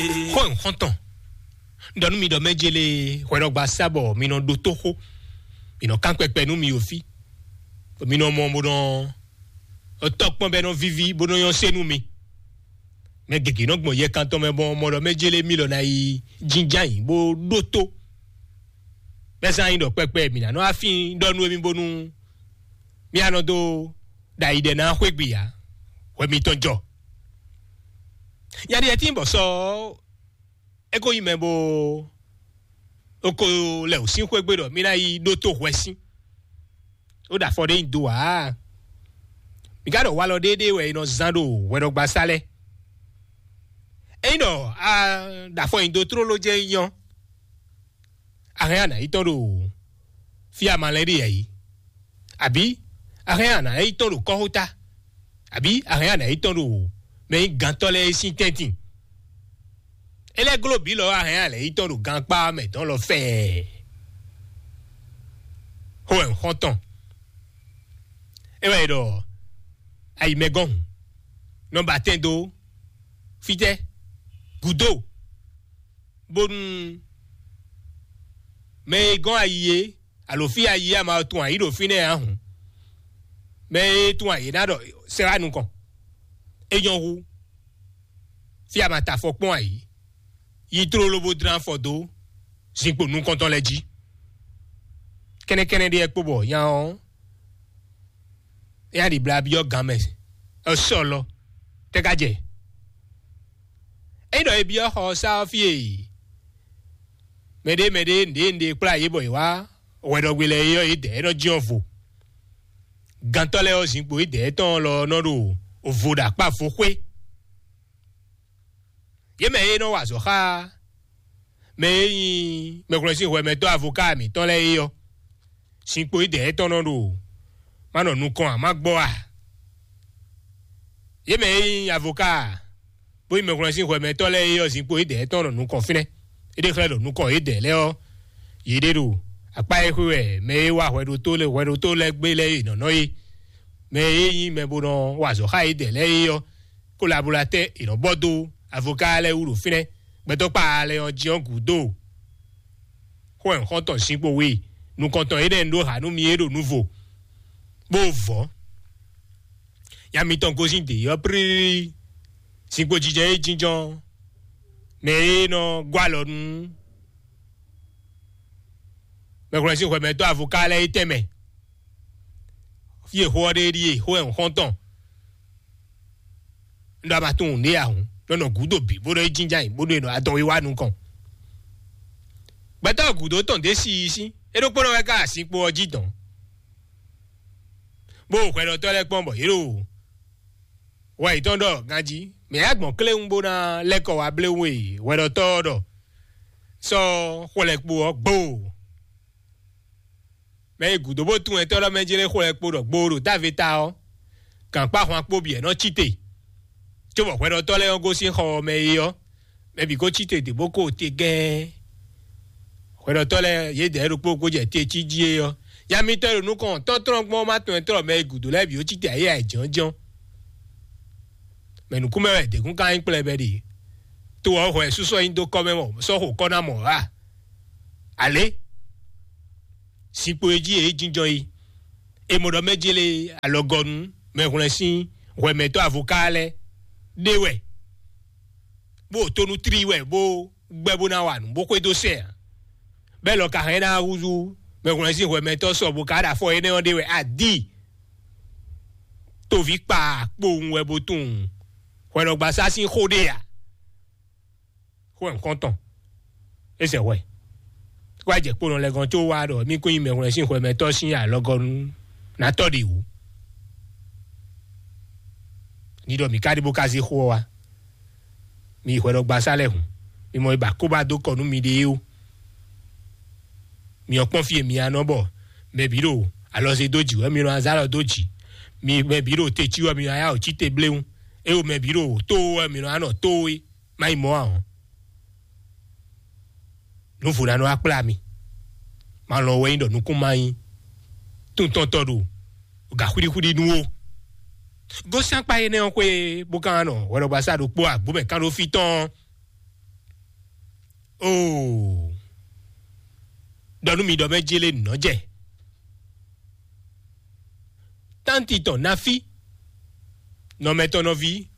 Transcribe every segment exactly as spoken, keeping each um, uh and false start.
Xó e xɔ́ntɔn ɖɔ nú mi ɖɔ mɛ jele hwɛɖɔgba sa bɔ mi nɔ ɖótó xó, mi nɔ kán kpɛkpɛ nú mi o fí, mi nɔ mɔ bó nɔ tɔ́ kpɔn bɛ nɔ víví bó nɔ nyɔ́ sé nú mi. Mɛ gěgé nɔ gbɔn yɛkantɔn mɛ bɔ mɔ ɖɔ mɛ jele mi lɔ ná yi jínján yǐ bó ɖótó. Bɛ́ zán nyi ɖɔ kpɛkpɛ mǐ ná nɔ afín ɖɔ nú émí bónú mí a nɔ dó ɖo ayi ɖɛ ná xwé gbe ǎ, hwɛ mitɔn jɔ. Nya ɖiɖɛ tín bɔ sɔ é ko nyí mɛ bó é ko lɛ wǔ sín xwé gbe ɖɔ mí ná yi ɖótó hwɛ sín. Ó ɖo afɔ ɖé nyi do ǎ. Mǐ ka ɖɔ walɔ ɖéeɖée wɛ è nɔ zán ɖo hwɛɖɔgbasá lɛ́ɛ. Ényí ɖɔ a ɖo afɔ nyi do tlóló jɛ́n nyí ɔ́, a hɛn a nǎ yi tɔn ɖo fí a ma lɛ́ ɖe yɛ̌yi, abǐ a hɛn a nǎ yi tɔn ɖo kɔ́xota, abǐ a hɛn a nǎ yi tɔn ɖo mɛ nyí gantɔ́ lɛ́ɛ sín tɛ́ntin. É lɛ́ gló bǐ lɔ a hɛn a lɛ̌ yi tɔn ɖo gankpá mɛ tɔn lɔ fɛɛ. Xó wɛ un xɔ́n tɔn. É wɛ è ɖɔ ayi mɛ gɔ́n hǔn, nɔ ba tɛn dó fítɛ́ gǔdo, bónú mɛ e gɔ́n ayi é, alo fí ayi é a ma tunwun ayǐ ɖo fínɛ́ ǎ hǔn, mɛ e tunwun ayǐ ná ɖɔ sɛ́ wá nukɔn. É nyɔ́ hú fí a ma ta afɔ kpɔ́n ayǐ, yi tlóló bó dlán afɔ dó zinkpo nukɔntɔn lɛ́ɛ jí. Kɛ́nɛ́kɛ́nɛ́ ɖé wɛ kpo bɔ nya ɔ́, é ná ɖi bla byɔ́ gan mɛ ɔ́ sɔ lɔ tɛ́ ka jɛ. Ényí ɖɔ è byɔ́ xɔ ɔ́ sá ɔ́ fí e mɛɖé mɛɖé nǔɖé nǔɖé kplá yě bɔ yě wá hwɛɖɔgbe lɛ́ɛ é ɔ́, yědɛɛ nɔ jɛ́n vo. Gantɔ́ lɛ́ɛ ɔ́, zinkpo yědɛɛ tɔn lɔ nɔ ɖo vo ɖo akpá vo xwé. Yě mɛ e nɔ wa azɔ̌ xá mɛ e nyí mɛhwlɛ́nsínhwɛmɛtɔ́ avoká mǐtɔn lɛ́ɛ é ɔ́, zinkpo yědɛɛ tɔn nɔ ɖo má nɔ nukɔn ǎ, má gbɔ a? Yě mɛ e nyí avoká bó nyí mɛhwlɛ́nsínhwɛmɛtɔ́ lɛ́ɛ é ɔ́, zinkpo yědɛɛ tɔn nɔ nukɔn fínɛ́. É ɖe xlɛ́ ɖɔ nukɔn yědɛɛ lɛ́ɛ ɔ́, yě ɖe ɖo akpá e xwé wɛ mɛ e wa hwɛɖótó lɛ́ɛ hwɛɖótó lɛ́ɛ gbé lɛ́ɛ e nɔ̌ nɔ é. Mɛ e nyí mɛ bó nɔ wa azɔ̌ xá yědɛɛ lɛ́ɛ é ɔ́, kolabolatɛ́ è nɔ bɔ dó avoká lɛ́ɛ wú ɖo fínɛ́. Gbɛtɔ́kpa lɛ́ɛ ɔ́ jí ɔ́ gǔdo. Xó wɛ xɔ́ntɔn zinkpo we nukɔntɔn énɛ́ ɖó ha nú mi é ɖo nuvo, bó vɔ̌. Nya mitɔn gosín dě ɔ́ plílílí, zinkpo jijɛ e jínjɔ́n mɛ e nɔ gɔ́ alɔ nú mɛhwlɛ́nsínhwɛmɛtɔ́ avoká lɛ́ɛ é tɛnmɛ. Fí e xó ɔ́ ɖe ɖíe xó wɛ xɔ́ntɔn. Un ɖɔ a ma tunwun nǔɖé ǎ hǔn, nɔ nɔ gǔdo bǐ bó nɔ yi jínjɔ́n ayǐ bó nɔ yi nɔ adɔn wíwá nukɔn. Gbɛtɔ́ gǔdo tɔn ɖě si yi sín, é ɖokpónɔ wɛ ká azinkpo ɔ́ jí dɔn, bó hwɛɖɔtɔ́ lɛ́ɛ kpɔ́n bɔ yě ɖo hwɛ yětɔn ɖɔ ganjí, mɛ yá gbɔn kléwún bó ná lɛ́ kɔ wá bléwún e hwɛɖɔtɔ́ ɔ́ ɖɔ sɔ́ xwlɛkpo ɔ́ gboo. Mɛ e gǔdo bó tunwun ɛtɔ́ ɖɔ mɛ jlé xwlɛkpo ɖɔ gboo ɖo táve ta ɔ́, gǎnkpá ahwan kpó bǐ wɛ nɔ cí te, cóbɔ hwɛɖɔtɔ́ lɛ́ɛ ɔ́ gosín xɔ ɔ́ mɛ é ɔ́, mɛ bǐ ko cí te dě bó ko te gɛ́ɛ́. Hwɛɖɔtɔ́ lɛ́ɛ yědɛɛ ɖokpó kó jɛ te cí jí é ɔ́, ya mitɔn e ɖo nukɔn tɔ́ntɔ́n gbɔn ɔ́ ma tunwun ɛtɔ́ ɖɔ mɛ e gǔdo lɛ́ɛ bǐ ó cí te ayé ayǐjɔ́njɔ́n. Mɛ nǔkún mɛ wɛ děkún ka nyí kplɛbɛ ɖe. To ɔ́ hwɛ súsɔ nyi dó kɔ́ mɛ mɔ sɔ́ xo kɔ́ ná mɔ ǎ. Alě zinkpo e jí e jínjɔ́n yi. È mɔ ɖɔ mɛ jélé alɔgɔnu mɛhwlɛ́n sín hwɛmɛtɔ́ avoká lɛ́ɛ ɖé wɛ, bó ɖo tónú tlí wɛ bó gbɛ́ bó ná wa nǔ bó xwedó sɛ ǎ. Bɛ́ lɔ ka hɛn ná húzú mɛhwlɛ́n sín hwɛmɛtɔ́ sɔ bó ka ɖo afɔ énɛ́ ɔ́ ɖé wɛ a dǐ toví kpa kpowun wɛ bó tunwun hwɛɖɔgbasá sín xó ɖé ǎ. Xó wɛ nukɔn tɔn é sɛ hwɛ. Wá jɛ kponɔ lɛ gɔn tó wá ɖɔ mí kún nyí mɛhwlɛ́n sín hwɛmɛtɔ́ sín alɔgɔnu ná tɔ́ ɖi wǔ. Ní ɖɔ mǐ ka ɖi bó ka zé xó ɔ́ wá. Mi yi hwɛɖɔgbasá lɛ́ɛ hǔn, mi mɔ yi ba kóbá dó kɔ nú miɖée ó. Mi ɔ́ kpɔ́n fí e mi anɔ bɔ mɛ bǐ ɖo alɔze dó jǐ wɛ mi nɔ azá lɔ dó jǐ. Mi mɛ bǐ ɖo te cí wɛ mi nɔ ayá wǒ cí te bléwún. É wo mɛ bǐ ɖo tó wɛ mi nɔ anɔ tó é. Má yi mɔ̌ ǎ ɔ́, nǔ vo ná nɔ wá kplá mi. Ma lɔ wɛ nyí ɖɔ nukún ma nyí tuntɔntɔ ɖo gǎ xwíɖíxwíɖí nú ó. Gosín akpá énɛ́ ɔ́ xwé bó ka nɔ hwɛɖɔgbasá ɖokpó agbǒ mɛ kán ɖó fí tɔn ɔ́, Oo, ɖɔ nú mi ɖɔ mɛ jélé nɔ́ jɛ. Tánti tɔn Nafi, nɔmɛ tɔn nɔví,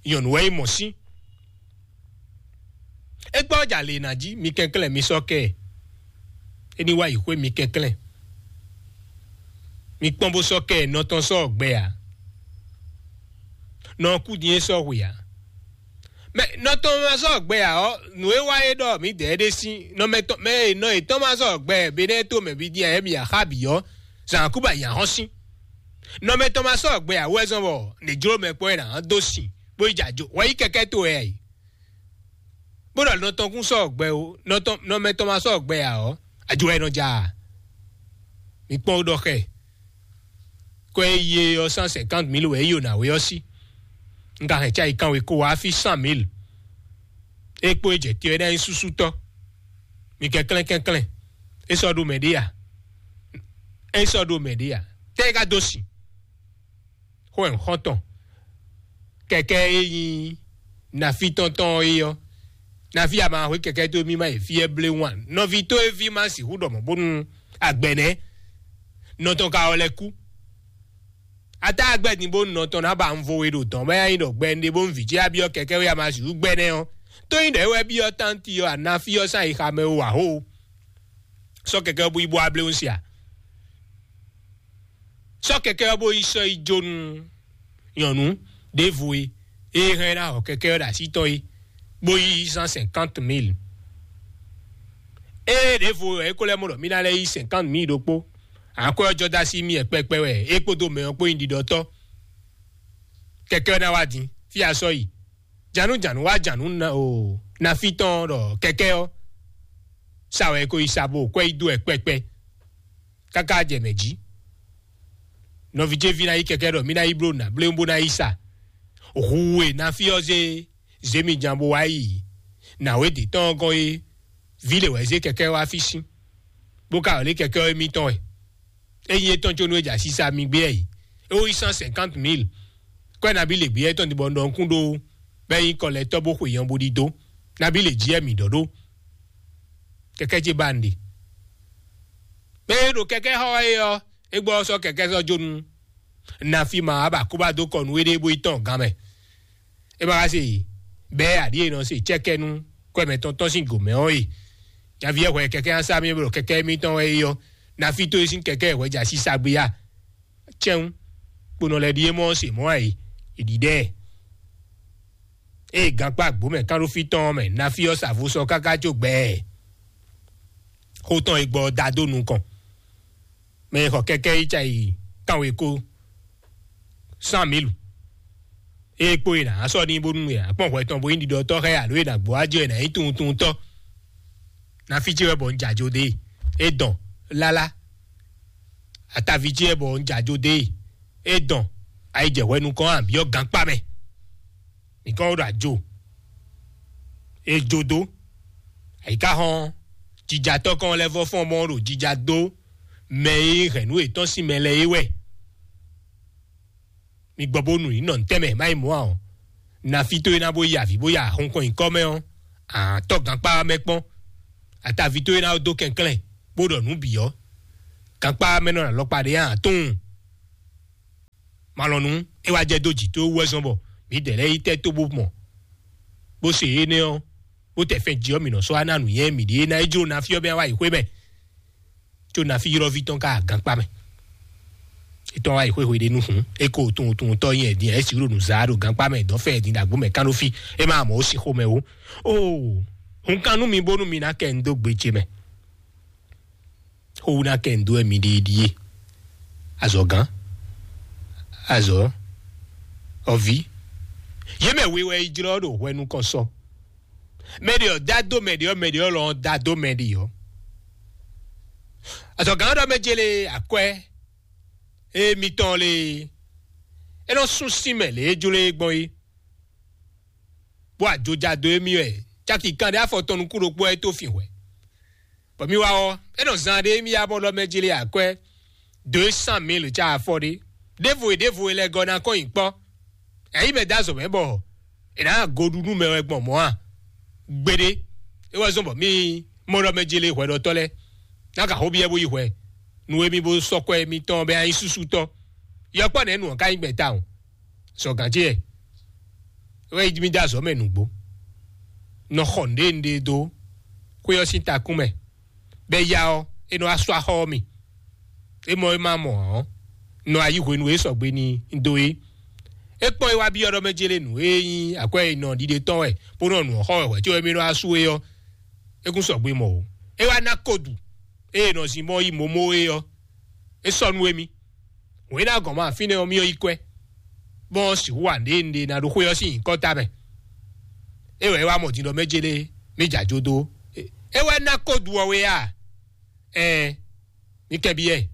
nyɔ̌nu wɛ é mɔ sín. É gbɔ jà lě ná jí, mi kɛnklɛ́n mi sɔ́ kɛ ɛ. É ní wá yi xwé mi kɛnklɛ́n. Mi kpɔ́n bó sɔ́ kɛ ɛ, nɔ tɔn sɔ́ gbɛ ǎ. Nɔ kú din é sɔ́ hwe ǎ. Mɛ nɔ tɔn ma sɔ́ gbɛ ǎ ɔ́, nǔ e wá é ɖɔ mǐdɛɛ ɖé sín nɔ mɛ tɔn mɛ e nɔ yětɔn ma sɔ́ gbɛ Benɛ́ɛ to mɛ bí dín ǎ, émí axá bǐ ɔ́, zǎn kú bɔ ayǐ ahɔ́n sín. Nɔ mɛ tɔn ma sɔ́ gbɛ ǎ wú wɛ zɔ́n bɔ nǐ jló mɛ kpɔ́n é nǎ dó sin bó yi jɛ ajo hwɛ yí kɛkɛ́ to wɛ ǎ é. Bó ɖɔ nɔ tɔn kún sɔ́ gbɛ ó, nɔ tɔn nɔ mɛ tɔn ma sɔ́ gbɛ ǎ ɔ́, ajo wɛ é nɔ ja a? Mi kpɔ́n ɖɔ xɛ. Kɔ e yi e ɔ́, cent cinquante mille wɛ é yi ná we ɔ́ sí. Un ka hɛn cáyi kanwe kó wá fí cent mille. É kpó é jɛ te ɔ́ é ná nyí súsútɔ́. Mi kɛnklɛ́n kɛnklɛ́n. É sɔ́ ɖó mɛ ɖé a? É sɔ́ ɖó mɛ ɖé a? Tɛ́ é ka dó sin? Xó ɛ xɔ́ntɔn. Kɛkɛ e nyí Nafi tɔn tɔn ɔ́ é ɔ́, Nafi a ma hwe kɛkɛ tó mì ma yi fí ɛ blé wan. Nɔví tó e ví ma sixú ɖɔ mɔ̌ bónú agbɛnɛ nɔ tɔn ka ɔ lɛ kú. Ata agbɛ din bónú nɔ tɔn ná ba un vo we ɖo dɔn bá nyi ɖɔ gbɛ un ɖe bónú vǐ ce a byɔ́ kɛkɛ wé a ma sixú gbɛ nɛ́ ɔ́. Tó nyí ɖɔ é wɛ byɔ́ tánti ɔ́, a Nafi ɔ́ sán yi xamɛ ó wǎ xó. Sɔ́ kɛkɛ ɔ́ bú yi bó a blé un sia. Sɔ́ kɛkɛ ɔ́ bó yi sɔ́ yi jó nú nyɔ̌nu ɖěvo e é hɛn ná xɔ kɛkɛ ɔ́ ɖo así tɔn é, bó yí cent cinquante mille. Ée ɖěvo wɛ é ko lɛ́ mɔ ɖɔ mì ná lɛ́ yí cinquante mille ɖokpó, akwɛ́ ɔ́ jɔ dó así mì wɛ kpɛkpɛ wɛ é kpódó mɛ ɔ́ kpó nyí ɖiɖɔtɔ́. Kɛkɛ ɔ́ ná wá din fí a sɔ́ yi. Jǎnújǎnú wá jǎnú na o Nafi tɔn ɖɔ kɛkɛ ɔ́ sa wɛ é ko yi sa bó kwɛ́ yi dó wɛ kpɛkpɛ. Káká jɛ mɛ jí. Nɔví ce ví ná yí kɛkɛ ɖɔ mì ná yi bló nǎ bléwún bó ná yi sa. Hu e Nafi ɔ́ zé zěmijan bó wá yi nǎwe dě tɔn ɔ́ gɔ́n é, vǐ lě wɛ zé kɛkɛ wá fí sín, bó ka wlí kɛkɛ ɔ́ émítɔn wɛ. Ényí é tɔn có nú é jɛ asisa mi gbé ɛ yi, é wó yi cent cinquante mille. Kɔ́ ɛ nabí lě gbé ɛ tɔn din bɔ un ɖɔ nukún ɖó bɔ é nyí kɔlɛtɔ́ bó xwe nyɔ bó ɖidó. Nabí lě jí ɛ mǐ ɖɔ ɖó. Kɛkɛ ce ba un ɖe. Mɛ e ɖo kɛkɛ xɔ wɛ é ɔ́, é gbɔ ɔ́ sɔ́ kɛkɛ sɔ́ jó nú Nafi ma wá ba kó ba dó kɔ nú éɖée bó yi tɔn gán mɛ. É ma ka se bɛ́ aɖǐ e nɔ se cɛ́kɛ́nú kwɛ́ mɛtɔn tɔn sín gǒ mɛ ɔ́ e. Nyaví ɛ hwɛ kɛkɛ́ nya sá mì bɔ kɛkɛ́ émítɔn wɛ é ɔ́, Nafi tó é sín kɛkɛ́ ɛ hwɛ jɛ asisa gbé ya. Cɛ́n kponɔ lɛ́ɛ ɖíe mɔ se mɔ̌ ǎ é, è ɖǐɖɛ́ ɛ. Ée gankpá gbǒ mɛ kán ɖó fí tɔn ɔ́ mɛ, Nafi ɔ́ sa vo sɔ káká có gbɛɛ. Xó tɔn e gbɔ ɔ́ da dó nukɔn. Mɛ e xɔ kɛkɛ́ yi ca yi kánwekó cent mille. Ée kpó e nǎ sɔ́ n'i bónú e nǎ kpɔn hwɛ tɔn bó nyí ɖiɖɔtɔ́ xá ɛ alo e nǎ gbó wá jɛ ɛ nǎ nyí tunwuntunwuntɔ́. Nafi ce wɛ bɔ un jɛ ajo dó e. É dɔn lálá. Ataví ce wɛ bɔ un jɛ ajo dó e. É dɔn ayi jɛ hwɛ nukɔn a byɔ́ gankpá mɛ. Mǐ kɔn ɖo ajo. É jó dó. Ayi ka hɔn jijatɔ́ kɔn lɛ́ vɔ fɔ́n mɔ ɖo jija dó mɛ e hɛn nú yětɔn sín mɛ lɛ́ɛ é wɛ. Mi gbɔ bónú ní nɔ ntɛ́nmɛ má yi mɔ̌ ǎ ɔ́, Nafi tó e ná bó yi avǐ bó ya xɔnkɔn nyǐkɔ mɛ ɔ́, àtɔ́ gankpá mɛ kpɔ́n. Ataví tó e ná dó kɛnklɛ́n bó ɖɔ nǔ bǐ ɔ́, gankpá mɛ nɔ alɔkpa ɖé ǎ tunwun. Malɔnu é wá jɛ dó jǐ tó wú wɛ zɔn bɔ mǐdɛɛ lɛ́ɛ yi tɛ́ tó bó mɔ, bó se énɛ́ ɔ́, bó tɛ fɛn jí ɔ́, mǐ nɔ sɔ́ wá ná nǔnywɛ́ mǐɖée ná é jló Nafi ɔ́ bɛ́ wá yi xwé mɛ. Có Nafi ylɔ́ví tɔn ka gankpá mɛ. Étɔn wá yi xwéxwe ɖé nú hǔn, é ko tunwun tunwun tɔ́ nyi ɛ din ɛ, é sixú ɖo nǔ zaa ɖo gankpá mɛ dɔ̌ fɛ din ɖo agbǒ mɛ kán ɖó fí, é má mɔ ó sin xomɛ ó. Oo, hun kan nú mi bónú mi ná kɛ un dó gbe ce mɛ. Xówú ná kɛ un dó wɛ mi ɖi ɖíe. Azɔ̌gán, azɔ̌, ɔví, yě mɛ we wɛ yi jlɔ́ ɖo hwɛ nukɔn sɔ. Mɛ ɖě ɔ́ dá dó mɛ ɖě ɔ́, mɛ ɖě ɔ́ lɔ ɔ́ dá dó mɛ ɖě ɔ́. Azɔ̌gán ɔ́ ɖɔ mɛ jélé akwɛ́ émitɔn lé, é nɔ sún sín mɛ lě e jló é gbɔn é, bó ajojado émí wɛ, caki kanɖé afɔ tɔn nukún ɖokpó wɛ é tó fin hwɛ. Bɔ mi wá ɔ́, é nɔ zan ɖé émí ya bɔ ɖɔ mɛ jélé akwɛ́ deux cent mille ca afɔ ɖé. Ɖěvo e ɖěvo e lɛ gɔ́ ná kɔn nyi kpɔ́. Ɛ̌ yi mɛ dó azɔ̌ mɛ bɔ è nǎ goɖu nú mɛ wɛ gbɔn mɔ̌ a? Gbeɖé. É wɛ zɔ́n bɔ mì mɔ ɖɔ mɛ jele hwɛɖɔtɔ́ lɛ́ɛ ná ka xó byɔ́ bó yi hwɛ nǔ e mì bó sɔ́ kwɛ́ mitɔn bɔ é ná nyí súsú tɔn. Yɔkpɔ́ nɛ̌ nǔ ɔ́ ka nyí gbɛ̌ tawun? Sɔ gǎn ce wɛ é wá yi mì dó azɔ̌ mɛ nǔgbó. Nɔ xɔ nǔɖé nǔɖé dó xwé ɔ́ sín takún mɛ, bɔ é ya ɔ́, é nɔ wá sú axɔ́ ɔ́ mi. É mɔ é ma mɔ ǎ ɔ́, nɔ ayǐ hwenu e sɔgbe ní dó é. É kpɔ́n é wá byɔ́ ɖɔ mɛ jélé nǔ e nyí akwɛ́ e nɔ ɖiɖe tɔn wɛ, bó nɔ nǔ ɔ́ xɔ wɛ hwɛ̌ có émí nɔ wá sú é ɔ́, é kún sɔgbe mɔ o. É wá ná kodu ée è nɔ zin mɔ yi momo é ɔ́, é sɔ́ nú émí. Wěná gɔ̌n ma fínɛ́ ɔ́, mì yi kwɛ́, bɔ sixú wa nǔɖé nǔɖé ná ɖó xwé ɔ́ sín nyǐkɔ ta mɛ. É wɛ é wá mɔ din ɖɔ mɛ jélé mì jɛ ajo dó. É wɛ ná kodu ɔ́ wé a? Ɛɛ, mì kɛbyɔ́ ɛ.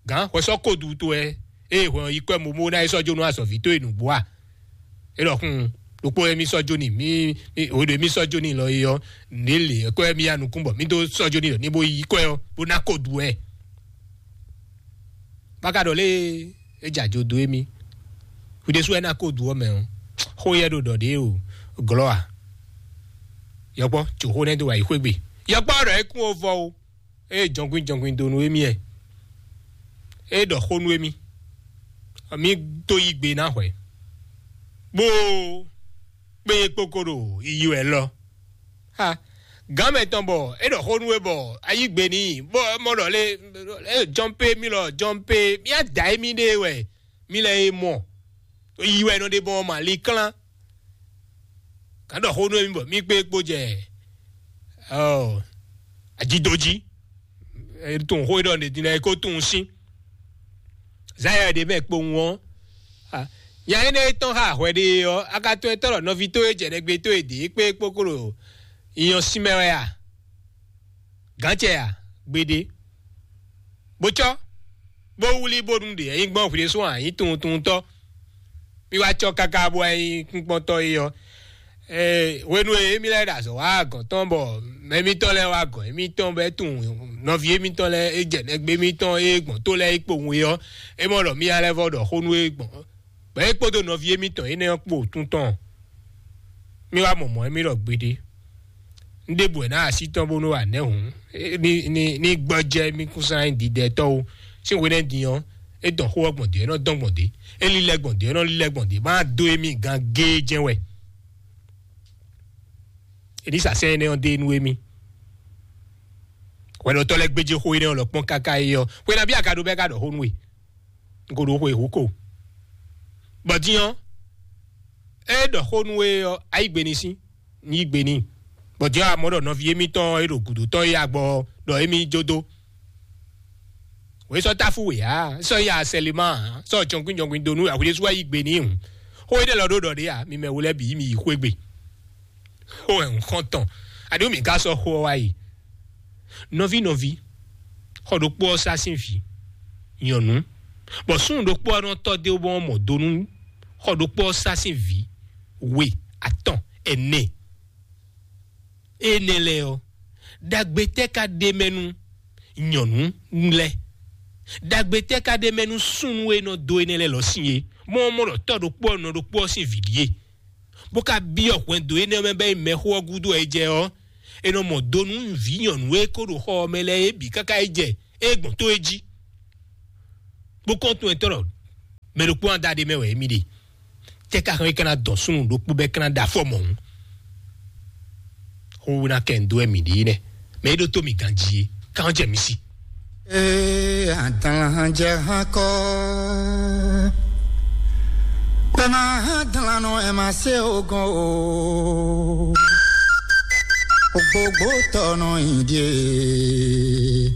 Gǎn hwɛ sɔ́ kodu towe, ée hwɛ ɔ́ yi kwɛ́ momo ná é sɔ́ jó nú azɔ̌ví towe nǔgbó a? É ɖɔ xún ɖokpó émí sɔ́ jó n'i, mí mí- hweɖo émí sɔ́ jó n'i lɔ é ɔ́, nǐ lě kwɛ́ mì ya nukún bɔ mí dó sɔ́ jó n'i lɔ ní bó yí kwɛ́ ɔ́ bó ná kodu ɛ. Báka ɖɔ lé é jɛ ajo dó émí. Hwi ɖésú wɛ ná kodu ɔ́ mɛ ɔ́, xó yɛ ɖo ɖɔ ɖě o glɔ́ a? Yɔkpɔ́ tso xó nɛ́ dó wá yi xwé gbe. Yɔkpɔ́ ɖɔ é kún o vɔ o. Ée jɔnkwín jɔnkwín dó nú émí ɛ, é ɖɔ xó nú émí, mí dó yí gbe ná hwɛ̌, bó kpé kpókó ɖo yiyi wɛ lɔ. Ha, gǎn mɛtɔn bɔ é ɖɔ xó nú we bɔ a yí gbe n'i, bɔ é mɔ ɖɔ lé, é jɔ́n pé mí lɔ jɔ́n pé mí á da émí ɖe wɛ mí lɛ́ é mɔ. Yi wɛ nɔ ɖe bɔ ma li klán. Gǎn ɖɔ xó nú émí bɔ mí kpé kpó jɛ ɔ ajido jí. Tunwun xó e ɖɔ nɛdin lɛ́ɛ é kó tunwun sín. Zayɔ ɖě mɛ kpowun ɔ́, nya énɛ́ e tɔ́n xá hwɛ ɖe ɔ́, a ka tunwun etɔ́ ɖɔ nɔví towe jɛ nɛgbé towe ɖě kpé kpókó ɖo nyɔ sín mɛ wɛ a? Gǎncɛ a? Gbeɖé. Bó cɔ́, bó wlí bónú ɖě nyí gbɔn hwǐɖésú ǎ nyí tunwuntunwuntɔ́. Mì wá cɔ́ káká bó wá nyí kúnkpɔ́ntɔ́ é ɔ́, hwenu e émí lɛ́ɛ ɖo azɔ̌ wá gɔ̌n tɔn bɔ mɛ émítɔn lɛ́ɛ wá gɔ̌n émítɔn bɔ é tunwun nɔví émítɔn lɛ́ɛ é jɛ nɛgbé émítɔn e gbɔn tó lɛ́ɛ é kpowun é ɔ́, é mɔ ɖɔ mì lɛ́ vɔ ɖɔ xó nú é gbɔn, bɔ é kpódó nɔví émítɔn énɛ́ ɔ́ kpo tún tɔn. Mì wá mɔ mɔ̌ émí ɖɔ gbeɖé. Un ɖěbǔ wɛ ná así tɔn bónú wa nɛ̌ hǔn ní gbɔjɛ́ mì kún sán nyí didɛtɔ́ ó. Sín hwenɛ́ din ɔ́, é dɔn xó ɔ́ gbɔn dě, é nɔ dɔn gbɔn dě, é lílɛ́ gbɔn dě, é nɔ lílɛ́ gbɔn dě, má dó émí gán géé jɛ́n wɛ. È ní sa sɛ́n énɛ́ ɔ́ dó é nú émí. Hwɛɖɔtɔ́ lɛ́ɛ gbéjé xó énɛ́ ɔ́ lɔ kpɔ́n káká é ɔ́, xwe nabí a ka ɖó bɛ́ ká ɖɔ xó nú we? Un ko ɖo xwe hǔ ko. Bɔ din ɔ́, é ɖɔ xó nú we ɔ́, a yí gbe n'i sín, un yí gbe n'i. Bɔ din ɔ́, a mɔ ɖɔ nɔví émítɔn e ɖo gǔdo tɔn é agbɔ ɔ́, ɖɔ émí jó dó. Wě sɔ́ táfú wě ǎ, sɔ́ ya sɛlema ǎ, sɔ́ jɔnkwín jɔnkwín dó nú ahwi ɖésú wá yí gbe n'i hǔn. Xó énɛ́ lɔ ɖó ɖɔ ɖě ǎ, mi mɛ wo lɛ́ɛ bǐ mi yi xwé gbe. Xó wɛ un xɔ́n tɔn, aɖó mǐ ka sɔ́ xó ɔ́ wá yi. Nɔví nɔví, xɔ ɖokpó ɔ́ sá sín vǐ nyɔ̌nu, bɔ súnnu ɖokpó ɔ́ nɔ tɔ́ dó bɔ mɔ do nú xɔ ɖokpó ɔ́ sá sín vǐ we, atɔn, ɛnɛ. Énɛ́ lɛ́ɛ ɔ́, ɖagbe tɛ́ ka ɖ'é mɛ nú nyɔ̌nu lɛ́ɛ? Ɖagbe tɛ́ ka ɖ'é mɛ nú súnnu e nɔ dó énɛ́ lɛ́ɛ lɔ sín é? Mɔ ɔ́ mɔ ɖɔ tɔ́ ɖokpó ɔ́ nɔ ɖokpó ɔ́ sín vǐ ɖíe, bó ka byɔ́ hwɛndo énɛ́ mɛ bɔ é mɛxó ɔ́ gúdo wɛ é jɛ ɔ́, è nɔ mɔ do nú vǐ nyɔ̌nu e ko ɖo xɔ ɔ́ mɛ lɛ́ɛ é bǐ káká é jɛ é gbɔn tó é jí. Bó kɔn tunwun etɔ́ ɖɔ mɛ ɖokpó ɔ́ da ɖ'é mɛ wɛ émí ɖe. Tɛ́ ka hɛn é ka ná dɔn súnnu ɖokpó bɔ é ka ná ɖe afɔ mɔ̌? Xówóná kɛ ń dó wɛ mǐ ɖe nɛ́, mɛ é ɖótó mǐ ganjí é, ká jɛ mǐ sí. Ee, adan jɛ hàn kɔ. Bɛ ma hàn dan nɔ ɛ ma se o gɔn o. Ogbogbo tɔ nɔ yin die.